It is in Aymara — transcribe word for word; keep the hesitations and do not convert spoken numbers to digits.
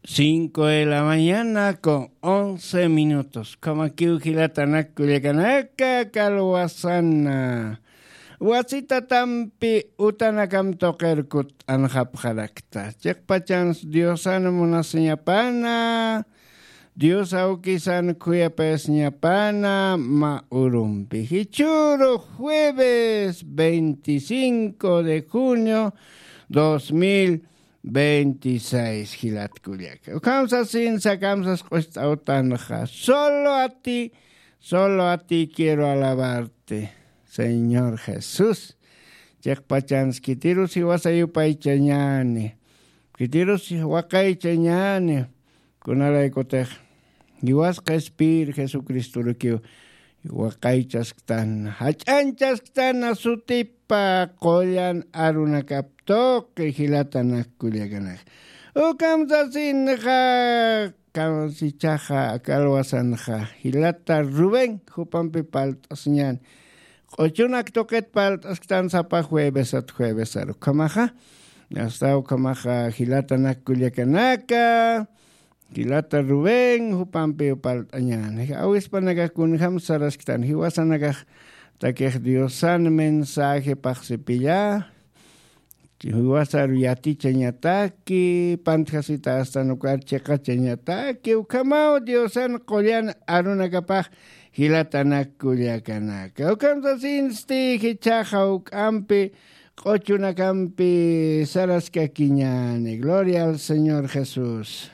Cinco de la mañana con once minutos. Kamakiw jilatanak kullakanaka kalwasana. Wasitatampi utanakam tuqirkut anxapxarakta. Chiqpachans Diosan munasiñapana. Dios awkisan khuyapayasiñapana ma urumpi. Jichhüru jueves veinticinco de junio dos mil veintiséis jilat kullaka. Ukham sasin sakamsas q'ust'awtanxa. Solo a ti, solo a ti quiero alabarte, Señor Jesús. Chiqpachans khitirus jiwasa yupaychañäni. Khitirus waqaychañäni. Kunaraykutix jiwasqa Espir Jesucristorukiw waqaychasktan, jach'añchasktan sutipa qullan arunakap tuqi jilatanak kullakanaka. Ukam sasinxa, kamsichaxa, kalwasanxa, jilata Rubén, jupampi palt'asiñäni. Q'uchunak tuqit palt'asktan sapa juevesat juevesaru. Ukhamaxa, asta ukhamaxa, jilatanak kullakanaka, jilata Rubén, jupampi palt'añäni. Awispanakax kunjam sarasktan, jiwasanakax takix Diosan mensaje phaxsipilla, jiwasaru yatichañataki, pantjasita astan ukar chiqachañataki, ukhamaw Diosan qullan arunakapax jilatanak kullakanaka. Ukham sasinsti jichhaxa juk'ampi q'uchunakampi saraskakiñäni. Gloria al Señor Jesús.